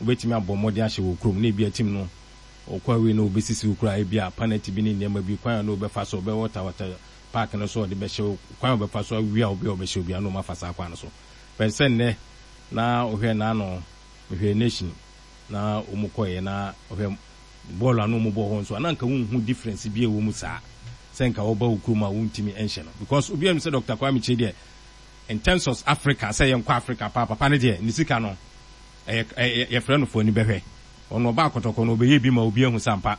Wobɛtumi abɔ mmɔden ahyɛ wɔ kurom na ebia team no ɔkɔ away na ɔbɛsisi wo koraa ebia penalty bi ne nneɛma bi kwan a na ɔbɛfa so ɔbɛwɔtawɔta park no so a ɔde bɛhyɛ wo kwan a ɔbɛfa so awia wo bi a ɔbɛhyɛ wo biara na wɔafa saa kwan no so. But sɛ nnɛ na wohwɛ n'ano mehwɛ Nation na wɔn kɔeɛ na wohwɛ bɔɔl a na wɔn bɔ hɔ nso a na nka wonhu difference bi a ɛwɔ mu saa sɛ nka wɔba wo kurom a wontumi nhyɛ no because obiara nim sɛ Doctor Kwame Kyei deɛ in terms of Africa sɛ yɛnkɔ Africa paa papa no deɛ ne sika no ɛyɛ ɛyɛ yɛfrɛ no fo ani bɛhwɛ ɔno ɔba akɔtɔkɔ no ɔbɛyɛ bi ma obi ahu sɛ ampa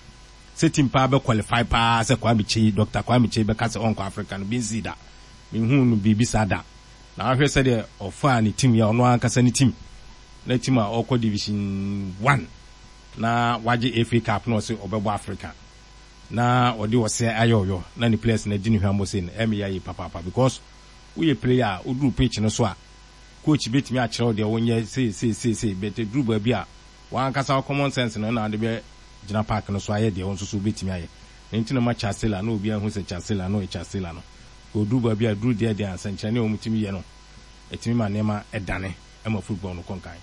sɛ team paa bɛ qualify paa sɛ Kwame Kyei Doctor Kwame Kyei bɛka sɛ ɔnkɔ Africa no bi nsii da menhuu no biribi saa da na ahwɛ sɛdeɛ ɔfaa ne team yɛ ɔno ankasa ne team na team a ɔkɔ division one na wagye FA cup na ɔse ɔbɛbɔ Africa na ɔde ɔsɛ ayɛ ɔyɔ na ne players no adi ne hwammɔ sei no ɛyɛ me ya yie papaapa because woyɛ player a woduru pitch no so a coach bɛtumi akyerɛ wo deɛ wonyɛ sei sei sei sei but ɛduru baabi a w'ankasa wo common sense no na wode bɛ gyina park no so ayɛ deɛ wo nso so wobɛtumi ayɛ ɛno nti na ma Charles Taylor na obiara hu sɛ Charles Taylor no yɛ Charles Taylor no ɔduru baabi a ɛduru deɛ deɛ a nsɛnkyerɛnne a wɔtumi yɛ no ɛtumi ma nneɛma dane ma football no kɔ nkan.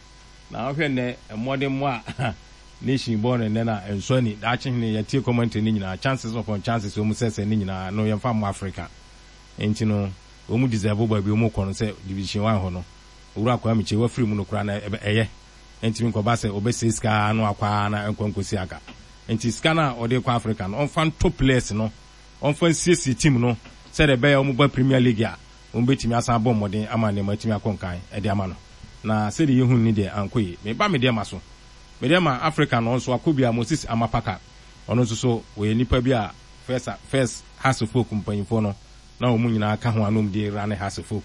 Na wohwɛ nnɛ mmɔdemmɔ a Nation bɔ no nnɛ no a, ɛnsɔ ani. Daakye hene, yɛtie commentary no nyinaa, chances upon chances wɔn sɛsɛ no nyinaa no yɛmfa mmɔ Africa. Enti no wɔn deserve baabi wɔn kɔ no sɛ Division One hɔ no. Owura Kwame Kyei wafiri mu no koraa na ɛyɛ. Ɛntumi nkɔba sɛ ɔbɛsɛe sika ara na wakɔ ara na ɛnkɔ nkɔsi aga. Enti sika no a ɔde rekɔ Africa no, ɔmfa ntɔ players no, ɔmfa nsiesie team no sɛdeɛ ɛbɛyɛ a wɔba Premier League a, wɔbɛtumi asan abɔ mmɔden ama nneɛma atumi akɔ nkan de ama no. Na sɛdeɛ yɛhunu no deɛ, ankɔ yie. Meba me deɛ ma so. Me deɛ ma Africa no, ɔnso wakɔ bi a, Moses Amapaka, ɔno nso so, ɔyɛ nipa bi a first, first Hearts of Oak mpanyinfoɔ no, na wɔn nyinaa ka ho a na wɔn de rane Hearts of Oak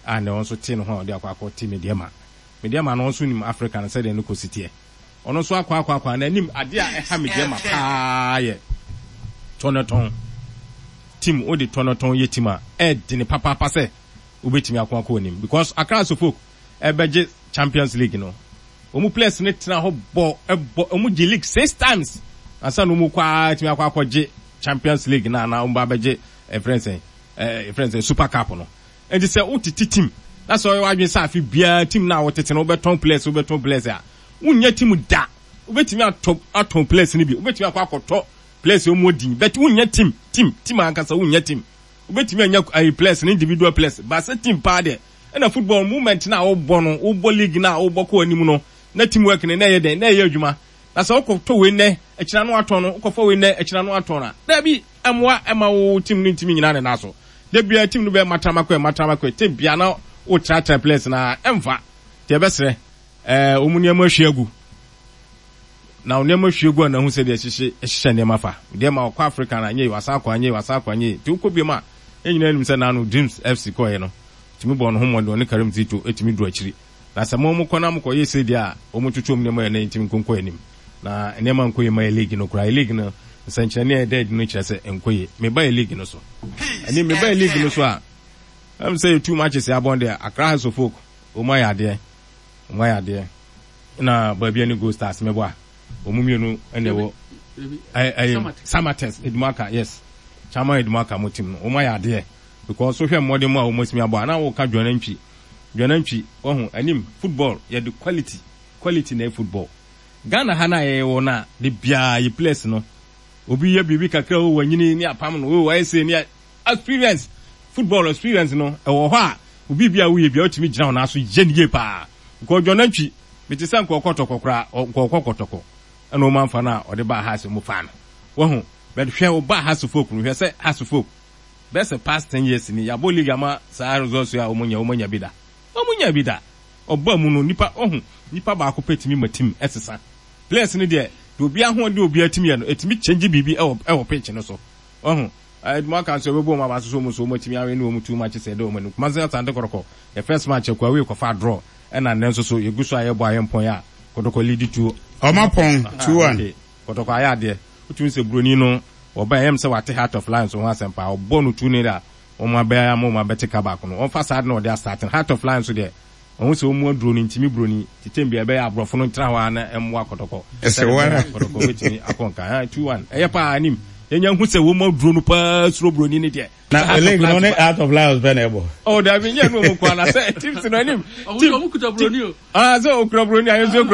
a nnɛ ɔno nso te ne ho a ɔde akɔ akɔ te Medeama. Medeama no ɔno nso nim Africa no sɛdeɛ ne kɔsi teɛ. Ɔno nso akɔ akɔ akɔ a n'anim adeɛ a ɛha Medeama paa yɛ tɔnɔtɔn. Team wode tɔnɔtɔn yɛ team a ɛɛdene papaapa sɛ wobɛtumi ako akɔ anim because Accra Hearts of Oak ɛbɛgye Champions League no wɔn players no tena hɔ bɔ bɔ wɔn gye league six times ansa na wɔn kɔ ara atumi akɔ akɔgye Champions League na anaa wɔn ba abɛgye ɛfrɛ sɛn ɛfrɛ sɛn Super Cup no. Nti sɛ wotete team na sɛ ɔyɛ w'adwene sɛ afe biara team no a wotete no wobɛtɔn players wobɛtɔn players a wonnya team da. Wobɛtumi atɔ atɔn players no bi wobɛtumi akɔ akɔtɔ players a wɔn din but wonnya team team team ankasa wonnya team. Wobɛtumi anya ayi players no individual players but sɛ team paa deɛ ɛna football moment no a wobɔ no wobɔ league no a wobɔ kɔ anim no na team work no na ɛyɛ dɛn na ɛyɛ adwuma. Na sɛ wokɔ tɔ wei nnɛ akyina no atɔn no wokɔfa wei nnɛ akyina no atɔn a daabi ɛmmoa ɛma wo team no ntumi nyina ne nan so. Da biara team no bɛyɛ matramakɔɛ matramakɔɛ team biara na wotratra players no ara ɛmfa. Nti yɛbɛsrɛ ɛɛ wɔn nneɛma ahwie agu na wɔn nneɛma hwie gu a na ahu sɛdeɛ ɛhyehye ɛhyehyɛ nneɛma fa. Deɛ ma ɔkɔ Africa no anyɛ yie wasan akɔ anyɛ yie wasan akɔ anyɛ yie nti wokɔ biom a yɛn nyinaa nim sɛ naano Dreams FC kɔeɛ no tumi bɔɔ ne ho mmɔden ɔne Karim Zito tumi duru akyiri. Na sɛ mo mokɔ na mokɔ yɛ sei deɛ a, wɔn twetwe wɔn nneɛma yɛ na yɛntumi nko nkɔ anim. Na nneɛma nkɔ yie ma yɛ league no koraa. Yɛ league no, nsɛnkyerɛnne a ɛda adi no kyerɛ sɛ ɛnkɔ yie. Meba yɛ league no so. Ɛne meba yɛ league no so a, ɛm sɛ yɛ two matches yɛ abɔn deɛ, Accra Hearts of Oak, wɔn ayɛ adeɛ. Wɔn ayɛ adeɛ. Na baabi ne Gold Stars mɛbɔ a, wɔn mmienu na ɛwɔ ɛyɛ Samatex Edumaka, yes. Chairman Edumaka mo team no, wɔn ayɛ adeɛ. Because wohwɛ mmɔden mu a wɔn asimi abɔ a, na wɔka Dwanantwi. Dwanantwi, wahu, anim, football, yɛde quality, quality na ɛyɛ football. Ghana ha no a yɛwɔ no a, da biara yɛ players no, obi yɛ biribi kakra o, wanyini ne apam no, o, wayɛ sei ne experience, football experience no, ɛwɔ hɔ a, obi bi a woyɛ biara wotumi gyina wo nan so yɛ no yie paa. Because Dwanantwi, mete sɛ nka ɔkɔ tɔkɔ koraa, nka ɔkɔ kɔtɔkɔ, ɛna wɔn amfa no a ɔde baa ha sɛ wɔfaa no. Wahu, but hwɛ ɔbaa Hearts of Oak no, hwɛ sɛ Hearts of Oak, Bɛyɛ sɛ past 10 years ni yɛabɔ league ama saa results yi a wɔn nya wɔn anya bi da. Wɔn nya bi da. Ɔba mu no nipa ɔhu nipa baako pɛ tumi ma team ɛsesa. Players no deɛ deɛ obi ahoɔden obi atumi yɛ no ɛtumi change biribi ɛwɔ ɛwɔ pitch no so. Ɔhu ɛɛ mo aka nso ɛbɛbɔ wɔn aba so so wɔn nso wɔn atumi awe ne wɔn two matches ɛda wɔn anim. Kumasi Asante Kɔtɔkɔ yɛ first match ɛkɔ away kɔfa draw ɛna nnɛ nso so yɛgu so a yɛbɔ a yɛmpɔn a Kɔtɔkɔ lead two. Ɔmo apɔn 2-1. Okay. Kɔtɔkɔ ayɛ adeɛ. Wotumi sɛ broni no wɔba ɛyɛ me sɛ wate Heart of Lions ho asɛm paa. Ɔbɔ no 2-0 a wɔn abɛ ama wɔn abɛte ka baako no. Wɔmfa saa ade na wɔde astarte no. Heart of Lions deɛ wɔhu sɛ wɔn aduro no ntumi broni nti tɛm biara ɛbɛyɛ aborɔfo no ntena hɔ ara na ɛmmoa Kɔtɔkɔ. Ɛsɛ Sɛdeɛ wo ɛbɛyɛ a ara. Kɔtɔkɔ bɛtumi akɔ nkan. Ah, 2-1. Ɛyɛ paa anim. Yɛnya hu sɛ wɔn aduro no paa suro broni no deɛ. Sɛ Na Heart of league no Lions ne ba. Heart of Lions pɛ na ɛbɔ. Oh, dabi nyɛ no wɔn nko ara na sɛ teams no anim. Ɔmo Team ɔmo kuta team broni o. ah sɛ okura broni a yɛn nso yɛkura.